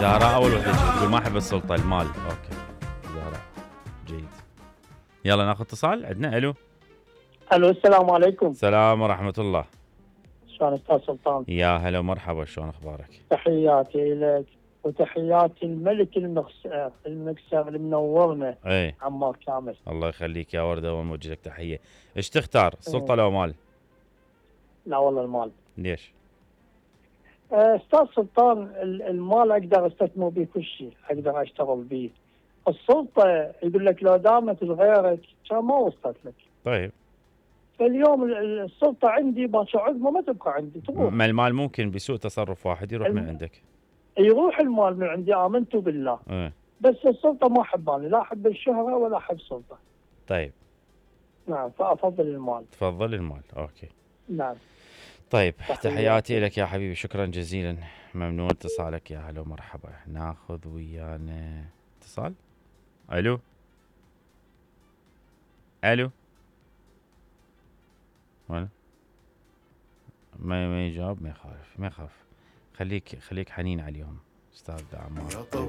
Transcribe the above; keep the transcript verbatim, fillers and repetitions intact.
زهراء اول وحده تقول ما احب السلطه، المال. اوكي زهراء جيد. يلا ناخذ اتصال. عندنا الو. الو السلام عليكم. السلام ورحمه الله. شلون استاذ سلطان؟ يا هلا ومرحبا، شلون اخبارك؟ تحياتي لك وتحياتي الملك المكسر المكسر اللي منورنا. اي عمار كامل. الله يخليك يا ورده، ونوجه لك تحيه. ايش تختار، السلطه لو مال؟ لا والله المال. ليش؟ استاذ سلطان المال اقدر استثمر به كل شيء، اقدر اشتغل به. السلطه يقول لك لو دامت لغيرك كان ما وصلت لك. طيب فاليوم السلطه عندي باكر عقبه ما تبقى عندي، تروح. ما المال ممكن بسوء تصرف واحد يروح الم... من عندك. يروح المال من عندي، امنت بالله. ايه. بس السلطه ما احباني، لا احب الشهره ولا احب السلطه. طيب نعم، فافضل المال. تفضل المال. اوكي نعم. طيب تحياتي لك يا حبيبي، شكرا جزيلا، ممنون اتصالك. يا هلا ومرحبا. ناخذ ويانا اتصال. الو الو. وين؟ ما ما يجاوب، ما يخالف ما يخاف. خليك خليك حنين عليهم استاذ عمار.